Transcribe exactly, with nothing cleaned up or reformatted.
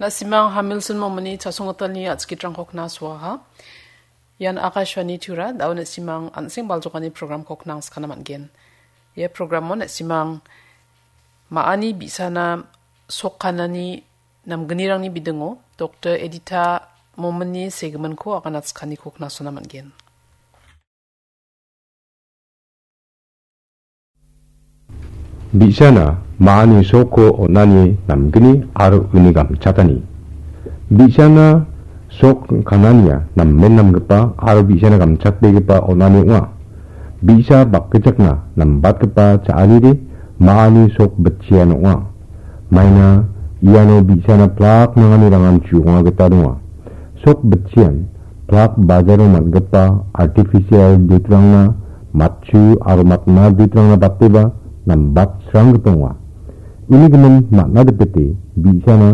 Na·simang Hamilton Momini chasonggitalni a·chikitrangko knasoaha. Ian Akashvani Tura, da·o na·simang an·seng baljokani programko knangskana man·gen. Ia programo na·simang ma·ani bi·sana sokkanani namgnirangni bidingo Doktor Edita Momini segiminko agana chikaniko knasona man·gen. Bi·sana ma·ani sokko on·ani namgni aro uni gamchatani. Bi·sana sok kanania namen namgipa aro bi·sana gamchatbegipa on·ani ong·a. Bi·sa bakgichakna nambatgipa cha·anide ma·ani sok bitchian ong·a. Maina iano bi·sana plak nangani rangamchi ong·a gita donga. Sok bitchian plak bajaro man·gipa artificial dutrangna matchu aro matna dutrangna bateba nambat sranggipa ong·a. Uni gimin man·a dipete bi·sana